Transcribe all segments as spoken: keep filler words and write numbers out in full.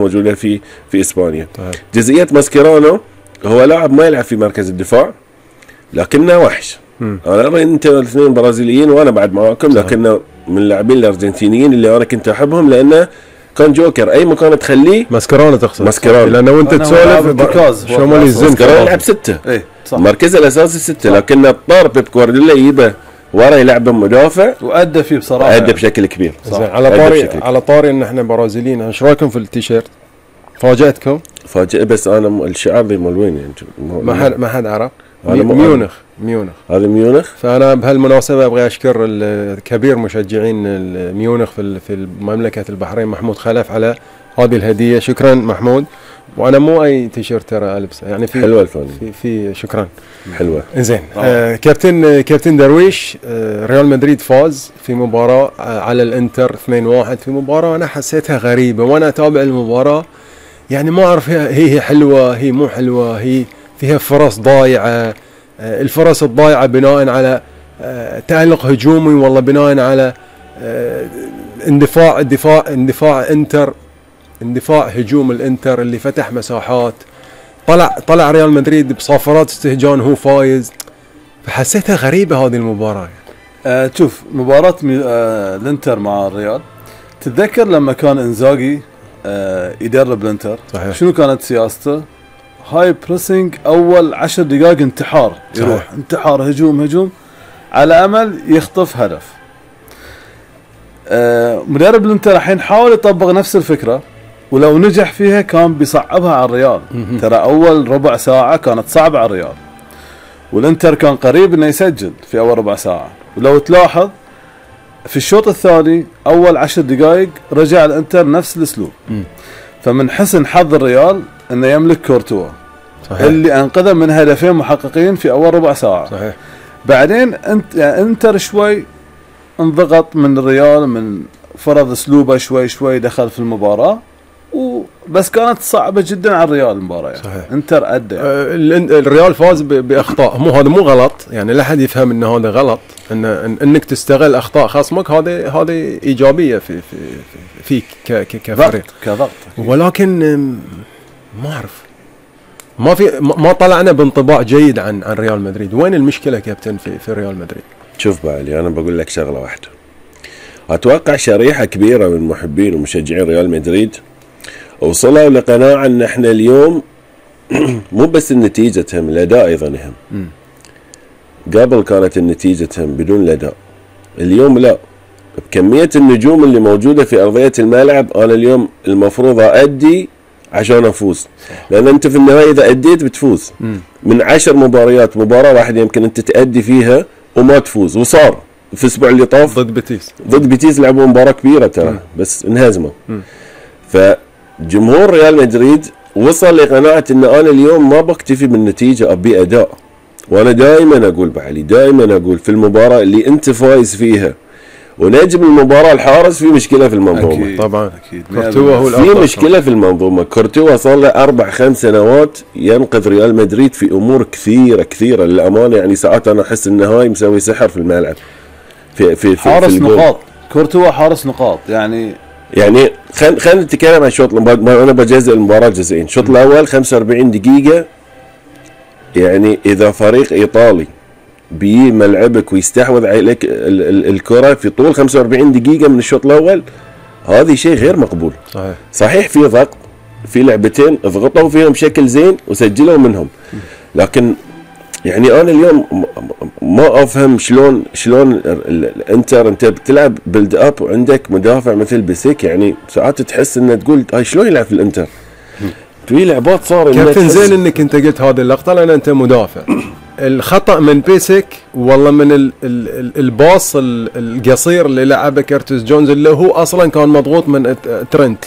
موجودة في في اسبانيا. طيب. جزئية ماسكيرانو هو لاعب ما يلعب في مركز الدفاع لكنه وحش. م. انا ارى انت الاثنين برازيليين وانا بعد معاكم، لكنه من اللاعبين الارجنتينيين اللي انا كنت احبهم لانه كان جوكر اي مكان تخليه. ماسكيرانو تقصد؟ ماسكيرانو لانه وانت تسولف شمال الزين ماسكيرانو يلعب ستة. ايه صح. مركزه الاساسي ستة، لكن اضطر بيب جوارديولا يجيبه ورا يلعبه مدافع وادى فيه بصراحه، ادى بشكل كبير. على طاري على طاري ان احنا برازيليين، ايش رايكم في التيشيرت؟ فاجأتكم؟ فاجأ، بس انا الشعار ذي مال وين يعني؟ ما حد ما حد عرف. ميونخ ميونخ هذا ميونخ. فانا بهالمناسبه ابغى اشكر الكبير مشجعين ميونخ في في مملكه البحرين محمود خلف على هذه الهديه. شكرا محمود. وانا مو اي تيشيرت ترى البسه يعني في حلوه الفن في, في شكرا حلوه. زين. آه كابتن كابتن درويش، آه ريال مدريد فاز في مباراه آه على الانتر اثنين واحد في مباراه انا حسيتها غريبه وانا اتابع المباراه، يعني ما اعرف هي هي حلوه هي مو حلوه، هي فيها فرص ضايعه. آه الفرص الضايعه بناء على آه تألق هجومي والله بناء على آه اندفاع اندفاع اندفاع انتر اندفاع هجوم الانتر اللي فتح مساحات. طلع طلع ريال مدريد بصافرات استهجان هو فايز، فحسيتها غريبه هذه المباراه. آه شوف مباراه آه الانتر مع الريال، تتذكر لما كان انزاغي آه يدرب الانتر صحيح. شنو كانت سياسته؟ هاي بريسنج اول عشر دقائق انتحار، يروح صحيح. انتحار هجوم هجوم على امل يخطف هدف. آه مدرب الانتر الحين حاول يطبق نفس الفكره، ولو نجح فيها كان بيصعبها على الريال. ترى اول ربع ساعه كانت صعبه على الريال، والانتر كان قريب انه يسجل في اول ربع ساعه. ولو تلاحظ في الشوط الثاني اول عشر دقائق رجع الانتر نفس الاسلوب. فمن حسن حظ الريال انه يملك كورتوا صحيح. اللي انقذه من هدفين محققين في اول ربع ساعه صحيح. بعدين انت يعني انتر شوي انضغط من الريال، من فرض اسلوبه شوي شوي دخل في المباراه، وبس كانت صعبه جدا على الريال المباراه يعني. صحيح. انتر ادى يعني. آه الريال فاز باخطاء، مو هذا مو غلط يعني، لا حد يفهم ان هذا غلط، ان انك تستغل اخطاء خصمك هذه هذه ايجابيه في في فيك كفريق كضغط، ولكن ما اعرف ما في ما طلعنا بانطباع جيد عن عن ريال مدريد. وين المشكله كابتن في في ريال مدريد؟ شوف بعلي، انا بقول لك شغله واحده، اتوقع شريحه كبيره من محبين ومشجعين ريال مدريد وصلوا لقناعه ان احنا اليوم مو بس النتيجه تهم، الاداء ايضا يهم. قبل كانت النتيجه تهم بدون الاداء، اليوم لا. بكميه النجوم اللي موجوده في ارضيه الملعب انا اليوم المفروض اادي عشان افوز، لان انت في النهايه اذا اديت بتفوز. من عشر مباريات مباراه واحده يمكن انت تادي فيها وما تفوز، وصار في الاسبوع اللي طاف ضد بيتيس ضد بيتيس لعبوا مباراه كبيره ترى بس انهزموا. فجمهور ريال مدريد وصل لقناعه ان انا اليوم ما بكتفي بالنتيجه، ابي اداء. وانا دائما اقول بعلي، دائما اقول في المباراه اللي انت فايز فيها ونجم المباراه الحارس في مشكله في المنظومه. أكيد. طبعا اكيد كورتوا هو في مشكله في المنظومه. كورتوا صار له اربع خمس سنوات ينقذ ريال مدريد في امور كثيره كثيره للامانه، يعني ساعات انا احس ان هاي مسوي سحر في الملعب في في, في حارس في نقاط. كورتوا حارس نقاط يعني يعني خلينا خلينا نتكلم عن الشوط. انا بجزء المباراه جزئين. الشوط الاول خمسة وأربعين دقيقه، يعني اذا فريق ايطالي بيجي ملعبك ويستحوذ عليك الكره في طول خمسة وأربعين دقيقه من الشوط الاول، هذا شيء غير مقبول. صحيح صحيح في ضغط، في لعبتين ضغطوا فيهم بشكل زين وسجلوا منهم، لكن يعني انا اليوم ما افهم شلون شلون الانتر انت بتلعب بيلد اب وعندك مدافع مثل بيسيك، يعني ساعات تحس انه تقول هاي شلون يلعب في الانتر؟ في لعبات صار كابتن زين انك انت قلت هذه اللقطه لان انت مدافع. الخطا من بيسك والله من ال ال الباص القصير اللي لعبه كيرتس جونز اللي هو اصلا كان مضغوط من ترنت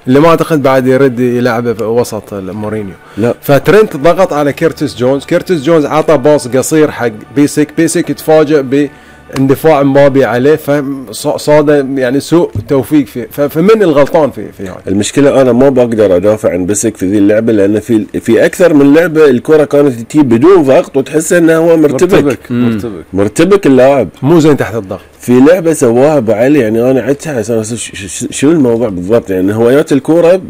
اللي ما اعتقد بعد يرد يلعبه في وسط مورينيو. لا فترنت ضغط على كيرتس جونز، كيرتس جونز عطى باص قصير حق بيسك، بيسك تفاجئ باندفاع مبابي عليه، فصاد يعني سوء توفيق فيه. فمن الغلطان في في هاي المشكله؟ انا ما بقدر ادافع عن بيسك في ذي اللعبه، لان في في اكثر من لعبه الكره كانت تجي بدون ضغط وتحس انه هو مرتبك مرتبك مرتبك, مرتبك اللاعب مو زين تحت الضغط. في لعبه سواها بعلي يعني انا عدتها شو الموضوع بالضبط، يعني هوايات الكوره